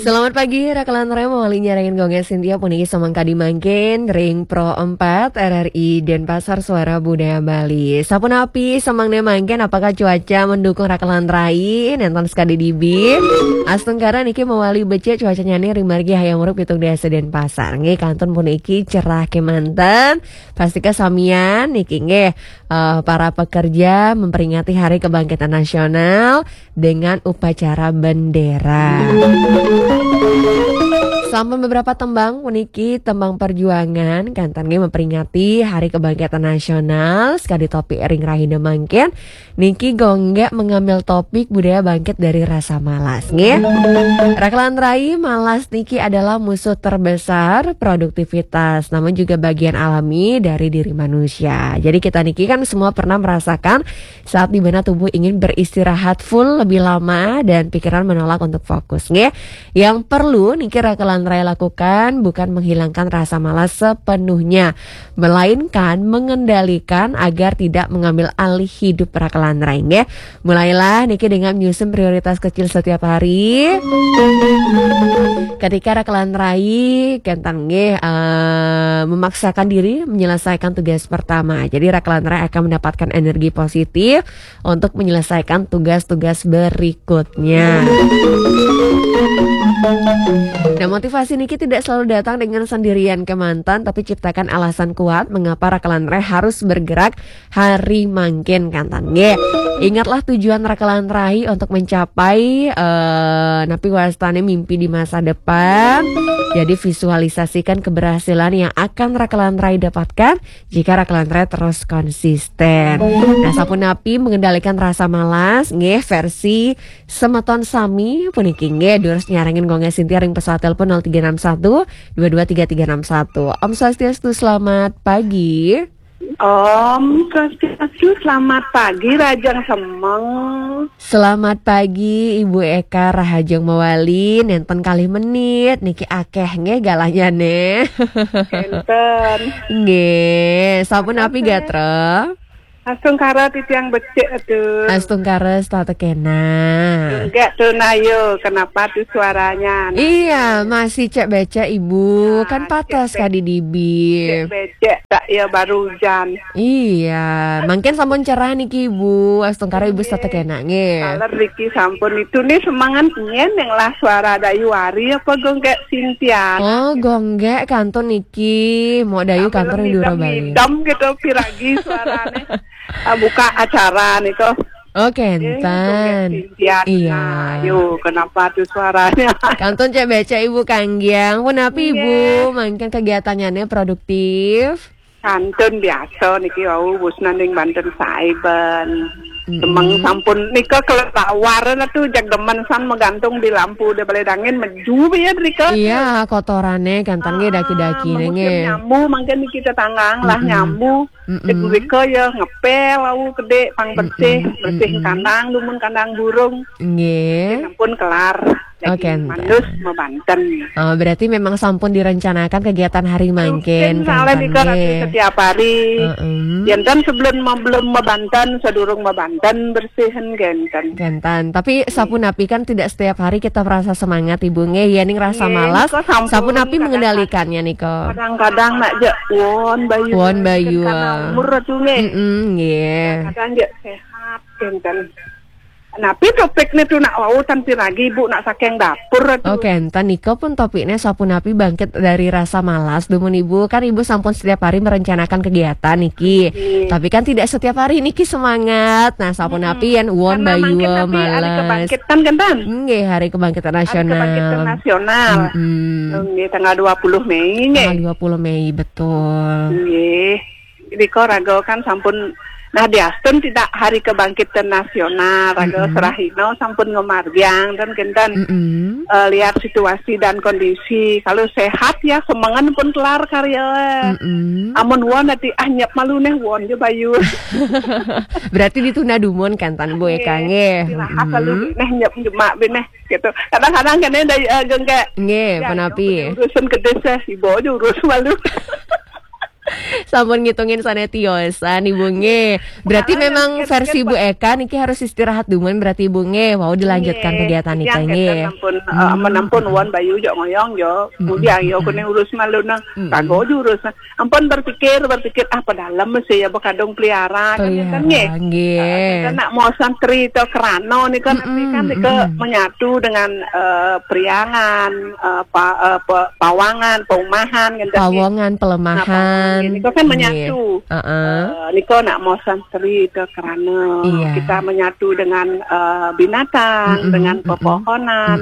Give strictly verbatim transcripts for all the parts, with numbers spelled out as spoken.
Selamat pagi, Raka Lantarai mawali nyarengin gongnya Sintia puniki samangkadi mangkin ring Pro empat R R I Denpasar Suara Budaya Bali. Sapunapi samangdané mangkin, apakah cuaca mendukung Raka Lantarai? Nénten sakadi dibi. Astungkara niki mawali becik cuacanyane ring margi Hayam Wuruk pitung dasa Denpasar. Nggih, kantun puniki cerah kemanten. Pastika samian niki nggih, eh, para pekerja memperingati Hari Kebangkitan Nasional dengan upacara bendera. Sampun beberapa tembang puniki tembang perjuangan kantun nggih memperingati Hari Kebangkitan Nasional, sakadi topik ring rahina mangkin niki Gonggek mengambil topik budaya bangkit dari rasa malas nggih. Raka Lantarai, malas niki adalah musuh terbesar produktivitas, namun juga bagian alami dari diri manusia. Jadi kita niki kan semua pernah merasakan saat di mana tubuh ingin beristirahat full lebih lama dan pikiran menolak untuk fokus, nggih. Yang perlu niki Raka Lantarai lakukan bukan menghilangkan rasa malas sepenuhnya, melainkan mengendalikan agar tidak mengambil alih hidup Raka Lantarai, nggih. Mulailah niki dengan menyusun prioritas kecil setiap hari. Ketika Raka Lantarai kantun nggih, eh, memaksakan diri menyelesaikan tugas pertama. Jadi Raka Lantarai akan mendapatkan energi positif untuk menyelesaikan tugas-tugas berikutnya. Nah, motivasi niki tidak selalu datang dengan sendirian kemanten, tapi ciptakan alasan kuat mengapa Raka Lantarai harus bergerak hari mangkin kantun nggih. Ingatlah tujuan Raka Lantarai untuk mencapai, eh, napi wastane mimpi di masa depan. Jadi visualisasikan keberhasilan yang akan Raka Lantarai dapatkan jika Raka Lantarai terus konsisten. Nah, sapunapi mengendalikan rasa malas nggih versi semeton sami puniki nggih, durus nyarengin Gonggek Sintia ring pesawat telepon nol tiga enam satu dua dua tiga tiga enam satu. Om Swastiastu, selamat pagi. Om Swastiastu, selamat pagi, rahajeng semeng. Selamat pagi, Ibu Eka, rahajeng mawali, nénten kalih menit, niki akeh nggih galanyane. Enten. Nggih, sapunapi gatra? Astungkara titiang becik, aduh. Astungkara setata kena. Enggak tuh, Nayo, kenapa tuh suaranya? Iya, masih cek becek, Ibu. Nah, kan patas cek be-, kadi dibi. Cek becek, tak ya baru hujan. Iya, mangkin sampun cerah niki, Ibu. Astungkara Ibu setata kena nggih. Taler niki sampun itu nih semangat nyen yang lah suara Dayu Ari apa Gonggek Sintian. Oh, Gonggek kantun niki. Mau Dayu kantun di Dura Bali. Idem gitu piragi suaranya. Ah, buka acara nih kok. Oh, kenten. Iya. Nah, yo, kenapa tuh suaranya? Kantun cek becek Ibu kanggiang. Punapi Ibu, mangkin kegiatannya produktif? Kantun biasa niki wau wus nanding banten saiben. Semeng sampun nika kelelawar lah tuh, jag demen san magantung di lampu di balai dangin meju ya rika. Iya, kotorane kantun nggih daki-daki nggih. Nyambu mangkin niki tetanggang lah nyambu. Rika ya ngepel wau kedek pang bersih, bersih kandang dumun kandang burung. Nggih. Sampun kelar. Oh, kenten. Mandus mabanten. Oh, berarti memang sampun direncanakan kegiatan hari mangkin, rutin soalnya kenten nika nggih. Setiap hari. Heeh. Yen kan sebelum belum mabanten, sedurung mabanten bersihin kenten. Kenten. Tapi sapunapi kan tidak setiap hari kita merasa semangat, Ibu nggih. Yen ning rasa malas, sapunapi mengendalikannya nika? Kadang-kadang nak jek won bayu. Won bayu. Karena umur tuh nggih. Heeh, nggih. Kadang jek sehat kenten. Napi topiknya tuh nak wau tan piragi Ibu nak saking dapur tuh. Oke, enten nika pun topiknya sapunapi bangkit dari rasa malas dumun Ibu. Kan Ibu sampun setiap hari merencanakan kegiatan niki. Tapi kan tidak setiap hari niki semangat. Nah, sapunapi yen won bayu mangkin tapi hari malas. Kebangkitan kan tan? Nggih, hari kebangkitan nasional. Hari kebangkitan nasional. Nggih, tanggal dua puluh Mei nggih. Tanggal dua puluh Mei, betul. Nggih. Rika raga kan sampun nah diastun tidak hari kebangkitan nasional, raga serahina sampun ngemargiang dan kenten, eh, lihat situasi dan kondisi. Kalau sehat ya semengan pun kelar karya. Amun won nanti ah nyep malu neh won je bayu. Berarti ditunda dumun kenten Bu Eka nggih. Istirahat lalu neh nyep jemak beneh gitu. Kadang-kadang kena dari, eh, Gonggek. Nggih, ya, punapi? Urusan kedis ya, ibu aja urus malu. Sampun ngitungin sané tiosan Ibu nggih. Berarti memang versi Bu Eka niki harus istirahat dulu berarti Ibu nggih. Wau dilanjutkan kegiatan nika nggih. Ampun, eh, ampun, ampun, wan bayu jok ngoyong jok. Kemudian yo kuning urus malu nang. Kagok jurus. Ampun berpikir, berpikir, ah, padalem sih ya bekadung pelihara kan, kan nggih. Pelihara, nggih. Kan nak mau santri to kerano nih kan, nanti kan nika menyatu dengan, eh, Priangan, eh, pa- eh, pe- Pawangan, Paumahan, kan, kan, nggih. Pawongan, Nah, Pawangan Pelemahan. Ini kan menyatu. Heeh. Eh, nika nak mau santri to kerano. Iya. Kita menyatu dengan, eh, binatang, dengan pepohonan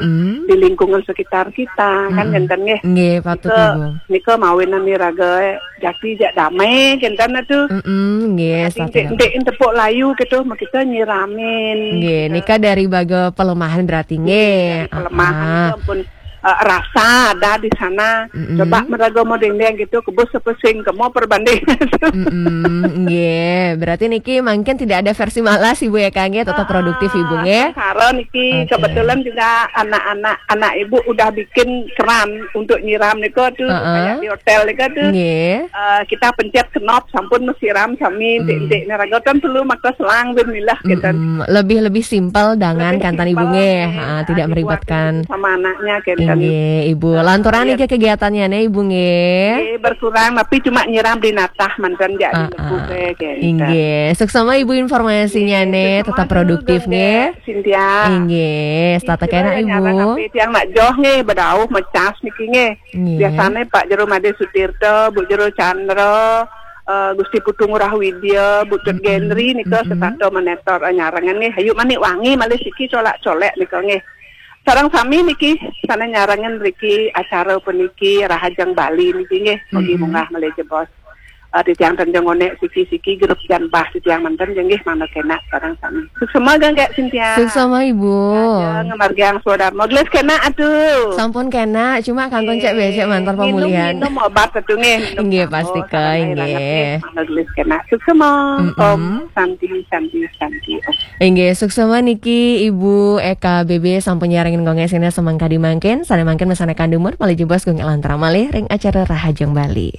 di lingkungan sekitar kita, kan, ngenten nggih. Nggih, patut, Ibu. Nika mawinan iraga jati jak damai, kenten atuh. Mm-mm, nggih. Tapi entik-entik tepuk layu gitu, mau kita nyiramin. Nggih, nika dari baga pelemahan berarti nggih. Dari pelemahan itu ampun, eh, rasa ada di sana. Coba meraga mau dendeng gitu, kebus sepesing, kemo perbanding. Mm-mm, nggih. Berarti niki mungkin tidak ada versi malas Ibu ya, Kang, nggih. Tetap produktif Ibu nggih. Sekarang niki kebetulan juga anak-anak, anak Ibu udah bikin keran untuk nyiram nika tuh, kayak di hotel nika tuh. Nggih. Eh, kita pencet knob sampun mesiram sami, entik-entik neraga kan perlu maka selang ben milah gitu. Mm-mm. Lebih-lebih simpel dengan kantan Ibu nggih. Ha, tidak meribetkan sama anaknya gitu. Nggih, Ibu. Lanturan niki kegiatannya nih Ibu nggih. Nggih, berkurang tapi cuma nyiram di natah mantan jak di lebu gitu. Inggih. Suksma Ibu informasinya nih, tetap produktif nggih. Cynthia. Inggih, setata kena Ibu. Nyarang api tiang nak joh nggih, bedauh mecas niki nggih. Nggih. Biasane Pak Jero Made Sutirta, Bu Jero Chandra, eh, Gusti Putu Ngurah Widya, Bu Tut Gendri nika setata monitor, eh, nyarengan nggih. Hayu manik wangi malih siki colak-colek nika nggih. Sareng sami niki sana nyarengan riki acara puniki Rahajeng Bali niki nggih. Mugi munggah malih jebos. Eh, titiang tenjeng onek siki-siki grup jan bah titiang manten jenggih mangda kena sareng sami. Suksma geng kek Cynthia. Suksma Ibu. Ngamargiang swadharma. Gelis kena atuh. Sampun kena, cuma kantun cek becek mantar pemulihan. Minum obat atuh nggih. Inggih, pasti keng nggih. Mangda gelis kena. Suksma. Om Santi, Santi, Santi. Om. Inggih, suksma niki Ibu Eka B B sampun nyarengin gongé sina semangkadi mangkin, sané mangkin mesana kandumur malih jebos gongé lantaran malih ring acara Rahajeng Bali.